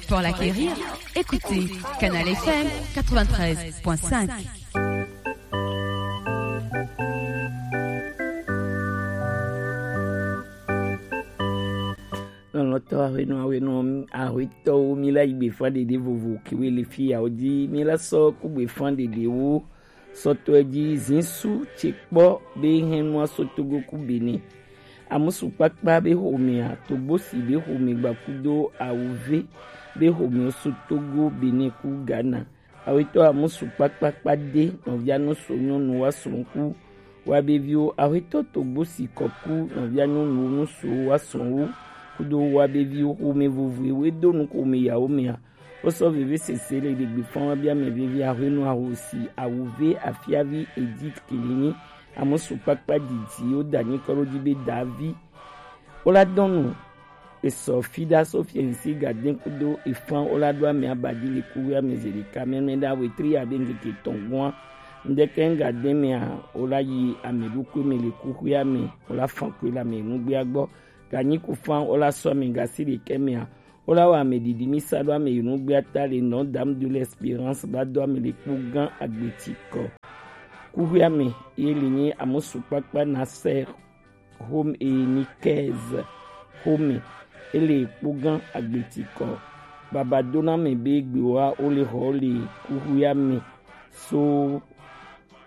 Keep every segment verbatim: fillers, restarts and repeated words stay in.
Pour l'acquérir, écoutez Canal F M quatre-vingt-treize point cinq. Lɔlɔ̃tɔ ahwenu ahwenu, ahwetɔwo, mi la yi gbefa ɖeɖe vovo kewe le fi ya wo di, mi la sɔ ku gbefa ɖeɖewo sɔtɔe ji zisu ce kpɔ be hɛnua so Togo ku Benin. Amusu kpakpa be xomea, Togbosi be xome gbakudo awuve be xome so Togo, Benin ku Ghana. Awetɔ amusu kpakpa kpa de nɔvia nu so nyɔnu wa srɔ̃ ku wa be viwo. Awetɔ Togbosi kɔ ku nɔvia nyɔnuwo nu so wa srɔ̃wo kudo wa be viwo. Xome vovoe we do nu xome yawo mea. Wo sɔ veve sese le ɖegbe fɔn wa bia mɛ veve ahwenu ahosi awuve afiavi Edith Kelini amusu kpakpa didi wo da nyi kɔ ɖo ji be davi. Wo la dɔn nu esɔ fi ɖa so fiɛnsi ga den kudo efan wo la ɖo ame abadi le kuxwe ame ze ɖeka mɛmɛ ɖa wetri abe ŋkeke tɔn gɔn. Ŋdɛkɛ ŋga den mɛa wo la yi ame ɖokui mɛ le kuxwe ame wo la fan koe le ame nugbea gbɔ. Ganyi ku fan wo la sɔ ame gasi ɖekɛ mɛa wo la wɔ ame ɖiɖi mi sa ɖo ame yi nugbea ta le nɔ Dame de l'Espérance ba do ame le kpo gã agbeti kɔ. Kuxwe ame ye le nyi amusu kpakpa na sɛ home e ni kɛz home ele kpo gã agbeti kɔ. Baba dona me be gbewa wo le xɔ le kuxwe ame so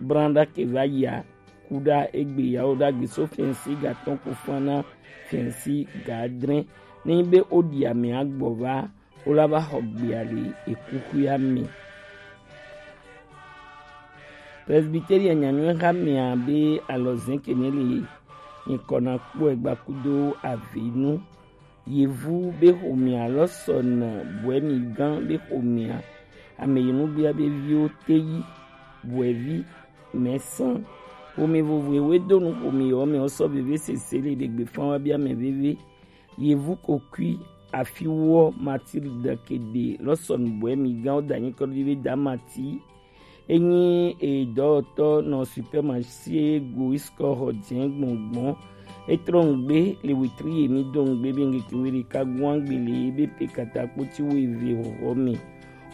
branɖa ke va yia kuɖa egbe yawo ɖagbe so fiɛnsi ga tɔn ku fan na fiɛnsi ga adre. Ne nyi be wo ɖi ame agbɔ va wo la va xɔ gbea le ekuxwea me. Presbyteria nyanyɔe xamea be alɔzɛn kene le nyikɔ na kpɔe gbakudo avenu. Yevu be xomea lɔsɔn bɔɛmi gã be xomea ame yi nugbea be viwo teyi bɔɛvi mɛsɔn. Xome vovoe we do nu xome yɔ me wo sɔ veve sese le ɖegbe fan wa bia mɛ veve. Yevu kokui afiwɔ Matilde Kede lɔsɔn bɔɛmi gã wo da nyi kɔ ɖo ji be da Mati. Enyi edɔwɔtɔ nɔ supermarché Goisco xɔ jɛn gbɔngbɔn. Etrɔ ŋgbe le wetri ye mi do ŋgbe be ŋkeke we ɖeka guan gbe le be pe katakpo ti wo eve xɔxɔ me.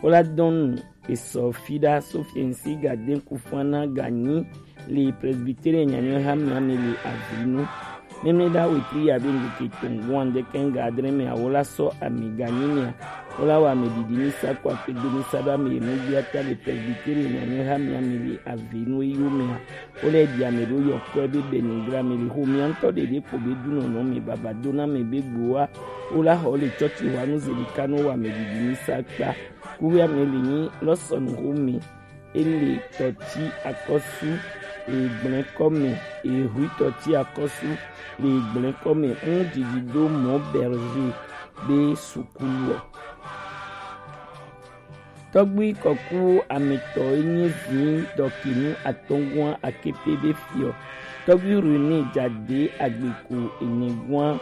Wo la dɔn nu esɔ fi ɖa so fiɛnsi ga den ku fan na ganyi le presbytere nyanyɔe ha mia me le avinu. Mɛmɛ ɖa wetri ya be ŋkeke tɔn guan ɖekɛ ŋga adre mɛ awo la sɔ ame ganyi mia. Wo la wɔ ame ɖiɖi mi sa kɔ akpe do mi sa ɖo ame yi nugbea ta le presbytere nyanyɔe ha mia me le avinu eyo mea. Wo lɛ ɖi ame ɖo yɔkɔe be Benigra me le xomia ŋutɔ ɖeɖe kpo be dunɔnɔ me baba do na me be gboa. Wo la xɔ le tsɔtsi wa nu zeli ka no wɔ ame ɖiɖi mi sa kpa. Kuwia me le nyi lɔsɔnu xome. Ele tɔti akɔsu egblẽ kɔme, ehui tɔti akɔsu le egblẽ kɔme ŋu didi do mɔ Berger be sukulu ɔ. Tɔgbui kɔku ametɔ enye vi dɔkinu atɔngua akepe be fiɔ. Tɔgbui René Jade agbeko enegua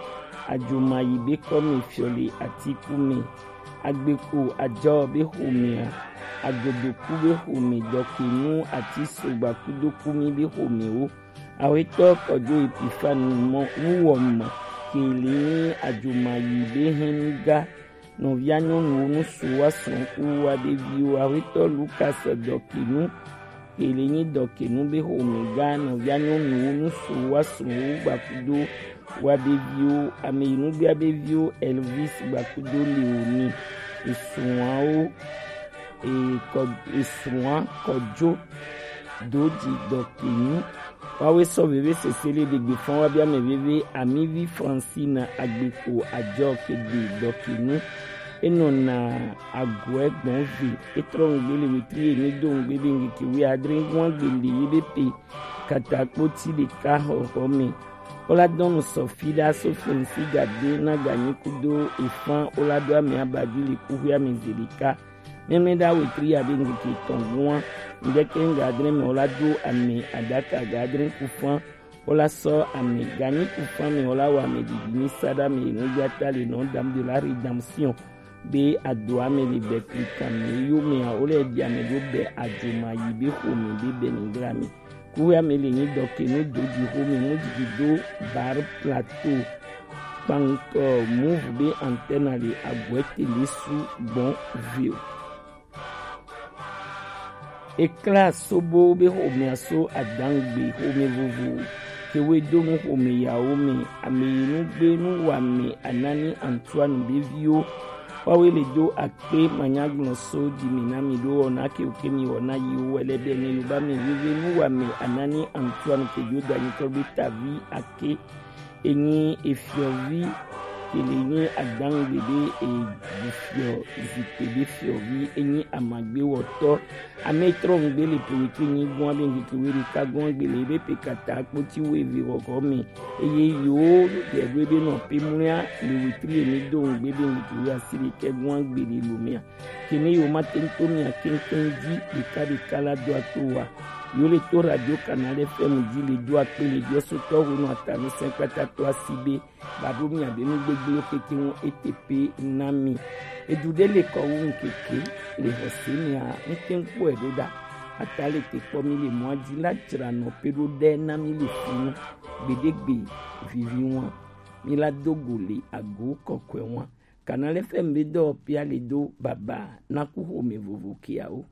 ajomayi be kɔme fiɔ le atiku me. Agbeko ajɔ be xomea, agodoku be xome dɔkinu ati sogba kudo kumi be xomewo. Awetɔ kɔjo Epifanu mɔ nuwɔmɔ kele nyi ajomayi be hɛn nuga. Nɔvia nyɔnuwo nusu wa srɔ̃kuwu wa ɖeviwo. Awetɔ Lukas dɔkinu kele nyi dɔkinu be xomega. Nɔvia nyɔnuwo nusu wa srɔ̃wo gbakudo wa ɖeviwo. Ame yi nugbea be viwo Elvis gbakudo Leoni. Esrɔ̃awo e, kɔ, esrɔ̃a kɔjo doji dɔkinu. Wawe sɔ veve sese le ɖegbe fɔn wa bia mɛ veve amivi Francine agbeko ajɔ kede dɔkinu. Enɔ na aguɛ gbɔn ve etrɔ ŋgbe le wetri ene do ŋgbe be ŋgeke wi adre ŋgbe le ye be pe katakpo ti ɖeka xɔxɔ me. Wo la dɔn nu sɔ fi ɖa so fɛnsi gade na ganyi kudo efan wo la ɖo ame abadi le kuxi ame ze ɖeka. Mɛmɛ ɖa wetri ya be ŋgeke tɔn gua ŋdɛkɛ ŋga adre mɛ wo la do ame adaka ga adre kufan. Wo la sɔ ame ganyi kufan mɛ wo la wɔ ame ɖiɖi mi sa ɖa ame yi nu gbata le nɔ dam de la rédemption. Be adoa me le bɛ klikame yo mea wo le ɖi ame ɖo bɛ adzoma yi be xome be bɛ ni ŋgla me. Kuwea me le nyi dɔkenu do di xome mu didi do Bar Plateau. kpankɔ Move be antenne le agbɔɛ tele su gbɔn vio. Ekla sobo be xomea so adangbe xome vovo kewe do nu xome yawo me, ame yi nu gbe nu wa me Anani Antoine be viwo. Wawe le do akpe manyagblɔ so di mi na mi ɖo wɔna ke oke mi wɔna yi wo wɛlɛ bɛ ne yoba mi veve nu wa me Anani Antoine ke jo danyitɔ be tavi ake. Enyi efiɔvi kele nyi adangbe be efiɔ zikpe be fiɔvi enyi amagbewɔtɔ. Ame trɔ ŋgbe le pewetri nyi gɔn abe ŋkeke weri ka gɔn gbe le ebe pe kata kpoti wo eve wɔgɔ me. Eye yo ɖe ɖo ebe nɔ pe mlɔa le wetri emi do ŋgbe be ŋkeke weri asi ɖe kɛ gɔn gbe le lo mea. Kene yo ma tento mia keŋkeŋ dzi ɖeka ɖeka la do ato wa. Yo le to radio Canal F M dzi le do akpe le diɔsotɔ honu atanu sɛnkpata to asi be ba ɖo mia be nu gbegblẽwo keke ŋu ete pe na mi. Edu ɖe le kɔ wu ŋkeke le xɔse mea ŋkeŋ kpɔe ɖo ɖa. Ata le te kpɔ mi le mɔa dzi la dzra nɔ pe ɖo ɖe na mi le fi nu. Gbeɖegbe vivi ŋua mi la do go le ago kɔkɔe ŋua. Canal F M be dɔwɔƒea le do baba na ku xome vovo keawo.